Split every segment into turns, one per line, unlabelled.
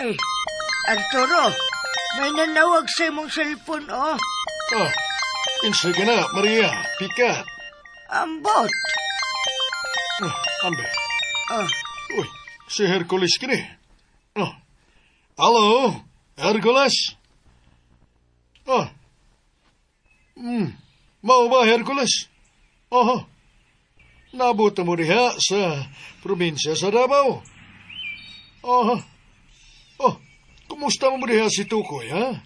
Ay, Arturo, may nanawag sa imong cellphone, oh.
Ah, kinsay ka na, Maria. Pika.
Ambot.
Ah, ambe.
Ah.
Uy, si Hercules kini. Oh. Hello, Hercules? Oh. Mao ba, Hercules? Oho. Nabot mo diha sa probinsya sa Davao. Oho. Oh, kumusta mo diha si Tukoy, ha?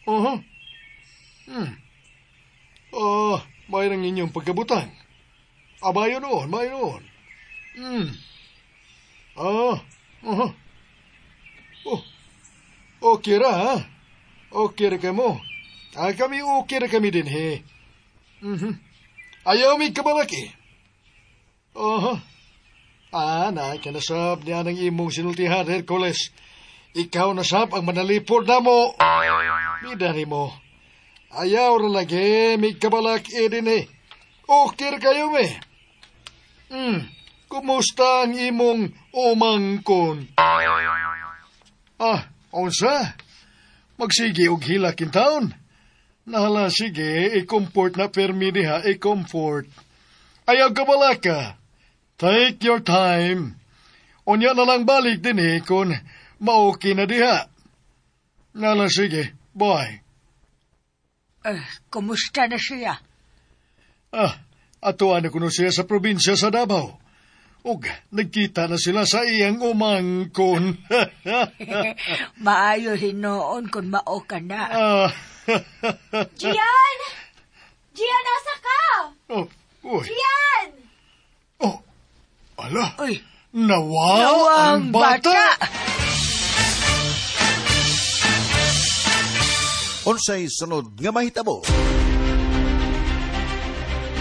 Oho. Oh, may nang inyong pagkabutang. Abayo noon, mayo noon. Ah, oho. Oh, okay ra, ha? Okay ra ka mo. Ah, kami okay ra kami din, he. Ayaw mi kabalaki. Oho. Ah, na, kanasab niya ng imong sinultihan, Hercules. Ikaw nasab ang manalipod na mo. Bida ni mo. Ayaw ra lagi, mi kabalaki din eh. Okay ra kayo, me. Kumusta ang imong umangkon? Ah, unsa? Magsige og hilak in town? Nahala, sige, i-comfort na permi diha, i-comfort. Ayaw kabalaka. Take your time. Unya na lang balik din eh, kung maoki na diha. Nala, sige, bye.
Eh, kumusta na siya?
Ah, atuan na kuno siya sa probinsya sa Davao. Ug nagkita na sila sa iyang umangkon.
Maayo hinuon kung mao ka na.
Ah.
Gian! Gian, asa ka?
Oh, uy.
Gian!
Oh, ala.
Uy.
Nawa,
Nawa
ang bata.
Unsay sunod nga mahitabo?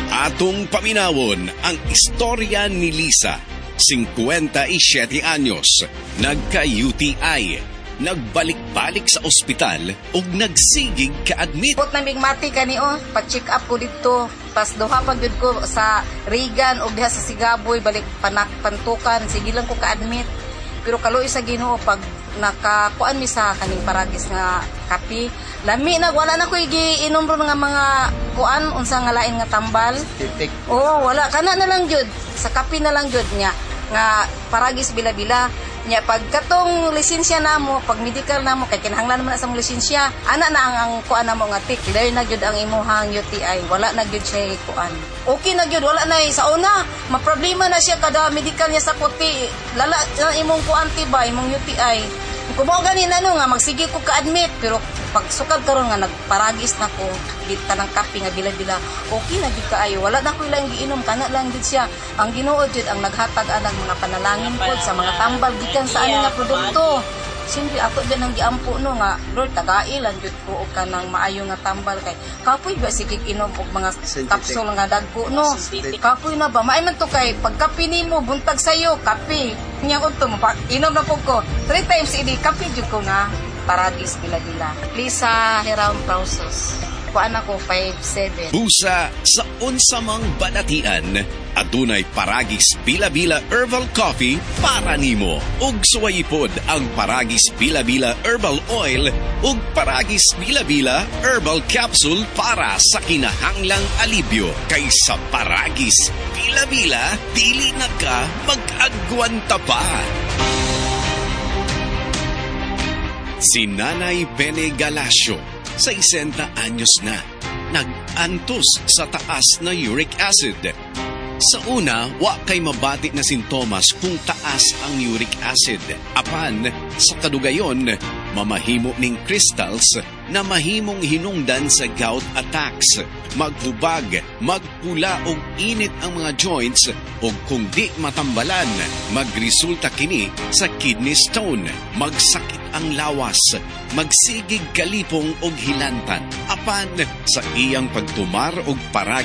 Atong paminawon ang istorya ni Lisa, 57 anyos, nagka-UTI, nagbalik-balik sa ospital ug nagsigig ka-admit.
Put na migmati kani oh, pa-check up ko didto. Tas duha pa gyud ko sa Regan og diha sa Sigaboy balik panak pantukan, sige lang ko ka-admit. Pero kaluoy sa Ginoo pag nakakuan mi sa kaning Paragis nga kape, lami na wala na ko giinom ron nga mga kuan unsa nga lain nga tambal. Oo, wala kana na lang gyud sa kape na lang gyud niya nga Paragis bila-bila. Nya pag katong lisensya namo, pag medical namo kay kinahanglan man na sa mong lisensya, ana na ang kuan namo nga tick, clear na gyud ang imuhang UTI, wala na gyud siya kuan. Okay na gyud, wala na sa una, maproblema na siya kada medical niya sa kuti, lala na imong kuan ti ba, imong UTI. Kung mao gani na no nga magsige ko ka-admit, pero pag sukad karon nga nagparagis na ko, di tanang kape nga bila-bila, okay na gyud kaayo, wala na ko ilang giinom, kana lang gyud siya. Ang Ginoo gyud ang naghatag anang mga panalangin pod sa mga tambal gikan sa ani nga produkto. Siyempre ako din ang giampo no nga Lord tagai lang gyud ko og kanang maayo nga tambal kay kapoy ba sige inom og mga kapsul nga dagko no. Kapoy na ba maay man to kay pagkape nimo buntag sayo kape nya udto mo inom na pud ko 3 times a day kape jud ko nga Paragis bila-bila. Lisa Hiram Process. Kuan ako 5'7.
Busa sa unsamang balatian, adunay Paragis Bila-Bila Herbal Coffee para nimo. Ug suwayipod ang Paragis Bila-Bila Herbal Oil ug Paragis Bila-Bila Herbal Capsule para sa kinahanglang alibyo. Kaysa Paragis Bila-Bila, dili na ka mag-agwanta pa. Si Nanay Pene Galacio, 60 anyos na, nag-antos sa taas na uric acid. Sa una, wa kay mabati na sintomas kung taas ang uric acid. Apan, sa kadugayon, mamahimo ning crystals na mahimong hinungdan sa gout attacks. Maghubag, magpula og init ang mga joints o kung di matambalan, magresulta kini sa kidney stone, magsakit ang lawas, magsigig kalipong og hilantan. Apan, sa iyang pagtumar og parag